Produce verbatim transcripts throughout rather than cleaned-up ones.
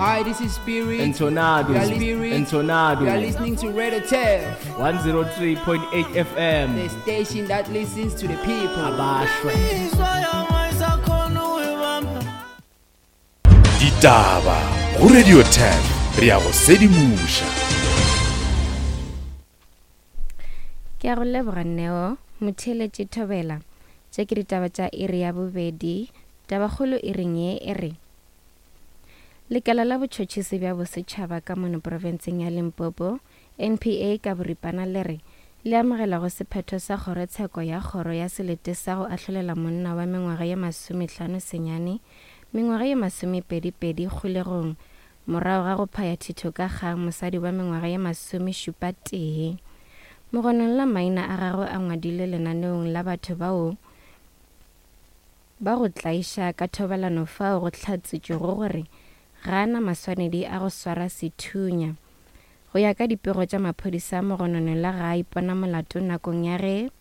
Hi, this is Spirit. Entonado. You are Spirit. Entonado. You are listening to Radio Turf, one oh three point eight F M. The station that listens to the people. Abashwe. Ditaba go Radio Turf re ya go sedimuša. Ke a go leboga Neo, motheeletši Thobela. Tše ke ditaba tša iri ya bobedi. Tabakgolo e reng ye e re Lekala la botšhotšhisi bja bosetšhaba ka mono profenseng ya Limpopo, N P A ka boripana le re le amogela go sephetho sa kgorotsheko ya kgoro ya selete sa go ahlolela monna wa mengwaga ye masomehlano senyane mengwaga ye masomepedi-pedi kgolegong morago ga go phaya thitho ka kgang mosadi wa mengwaga ye masomešupa tee. Mogonong la maina a gagwe a ngwadilwe lenaneong la batho bao ba go tlaiša ka thobalano fao go hlatsitšwego gore ga ana maswanedi a go swara sethunya. Go ya ka dipego tša maphodisa, mogonono la ga a ipona molato nakong ya ge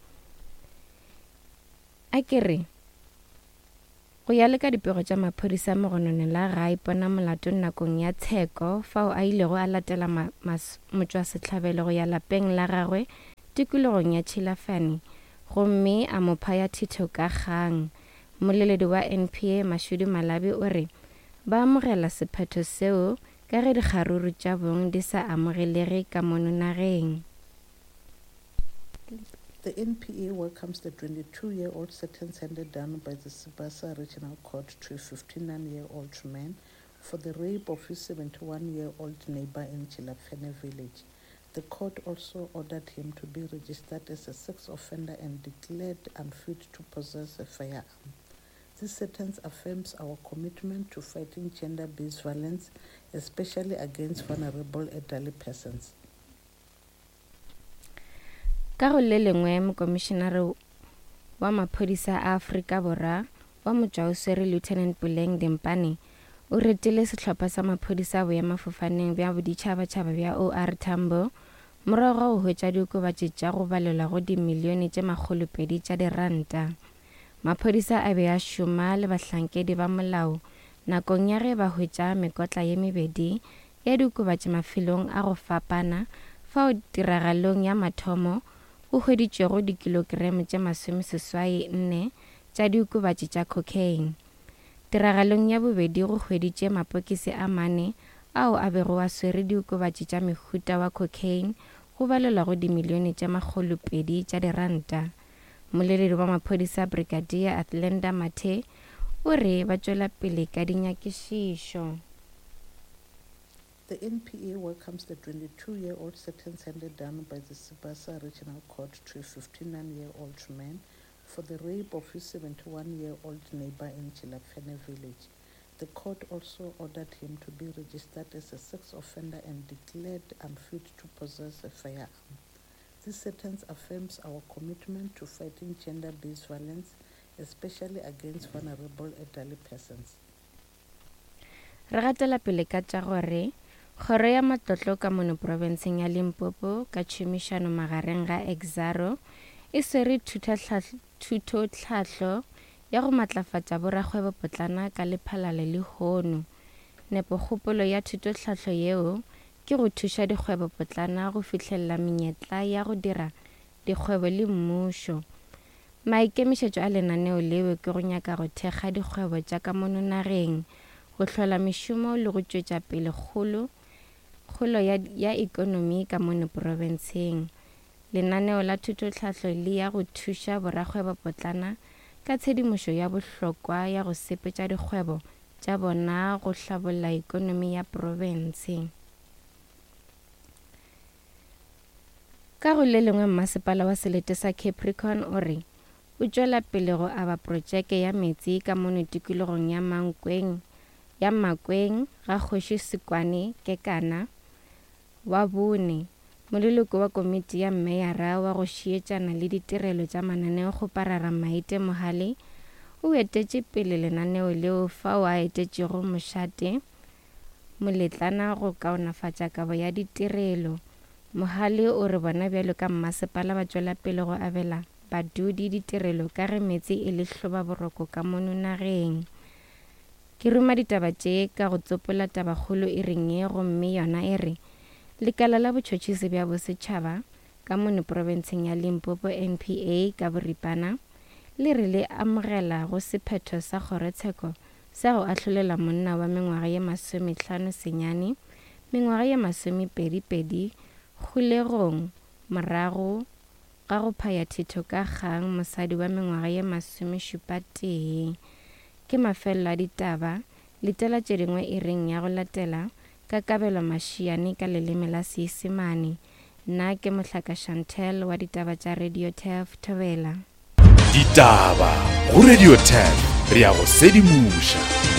a ke re go ya le ka dipego tša maphodisa, mogonono la ga a ipona molato nakong ya tsheko fao a ilego a latela motšwasehlabelo go ya lapeng la gagwe tikologong ya Tšhilafane gomme a mo phaya thitho ka kgang. Moleledi wa N P A Mashudu Malabi o re ba amogela sephetho seo ka ge dikgaruru tša bong di sa amogelege ka mono nageng. The N P A welcomes the twenty-two-year-old sentence handed down by the Sibasa Regional Court to a fifty-nine-year-old man for the rape of his seventy-one-year-old neighbor in Tshilapfene village. The court also ordered him to be registered as a sex offender and declared unfit to possess a firearm. This sentence affirms our commitment to fighting gender-based violence, especially against vulnerable elderly persons. Ka go le lengwe, mokomišenare wa maphodisa a Afrika Borwa wa motšwaoswere Lieutenant Puleng Dimpane o retile sehlopha sa maphodisa boemafofaneng bja boditšhabatšhaba bja O R Tambo morago ga go hwetša diokobatši tša go balelwa go dimilione tše makgolopedi tša diranta. Maphodisa a be a šoma le bahlankedi ba molao nakong ya ge ba hwetša mekotla ye mebedi ya diokobatši mafelong a go fapana fao tiragalong ya mathomo go hweditšwego dikilogramo tše masomeseswai nne tša diokobatši tša cocaine. Tiragalong ya bobedi go hweditše mapokisi a mane ao a bego a swere diokobatši tša mehuta wa cocaine go balelwa go dimilione tše makgolopedi tša diranta. Moleledi wa maphodisa Brigadier Athlenda Mathe o re ba tšwela pele ka dinyakišišo. The N P A welcomes the twenty-two-year-old sentence handed down by the Sibasa Regional Court to a fifty-nine-year-old man for the rape of his seventy-one-year-old neighbor in Tshilapfene village. The court also ordered him to be registered as a sex offender and declared unfit to possess a firearm. This sentence affirms our commitment to fighting gender-based violence, especially against vulnerable elderly persons. Re gatela pele ka tša gore kgoro ya matlotlo ka mono profenseng ya Limpopo ka tšhomišano magareng ga Exxaro e swere thutotlhahlo ya go matlafatša borakgwebopotlana ka Lephalale lehono. Nepokgopolo ya thutotlhahlo yeo ke go thuša dikgwebopotlana go fihlelela menyetla ya go dira dikgwebo le mmušo. Maikemišetšo a lenaneo leo ke go nyaka go thekga dikgwebo tša ka mono nageng, go hlola mešomo le go tšwetša pele kgolo kgolo ya, ya ekonomi ka mono profenseng. Lenaneo la thutotlhahlo le ya go thuša borakgwebopotlana ka tshedimošo ya bohlokwa ya go sepetša dikgwebo tša bona go hlabolla ekonomi ya profense. Ka go le lengwe, mmasepala wa selete sa Capricorn o re o tšwela pele go aba protšeke ya metsi ka mono tikologong ya Mankweng ya Makweng ga Kgoši Sekwane Kekana wa bone. Moleloko wa komiti ya meyara wa go šietšana le ditirelo tša mananeo kgoparara Maite Mohale o etetše pele lenaneo leo fao a etetšego mošate moletlana go kaonafatša kabo ya ditirelo. Mohale o re bona bjalo ka mmasepala ba tšwela pele go abela badudi ditirelo ka ge metsi e le hlobaboroko ka mono nageng. Ke ruma ditaba tše ka go tsopola tabakgolo e reng ye gomme yona e re lekala la botšhotšhisi bja bosetšhaba ka mono profenseng ya Limpopo N P A ka boripana le re le amogela go sephetho sa kgorotsheko sa go ahlolela monna wa mengwaga ye masomehlano senyane mengwaga ye masomepedi-pedi kgolegong morago ga go phaya thito ka kgang mosadi wa mengwaga ye masomešupa tee. Ke mafelelo a ditaba, letela tše dingwe e reng ya go latela ka Kabelo Mashiane ka leleme la Seisemane. Nna ke Mohlaka Chantel wa ditaba tša Radio Turf Thobela. Ditaba go Radio Turf, re ya go sedimoša.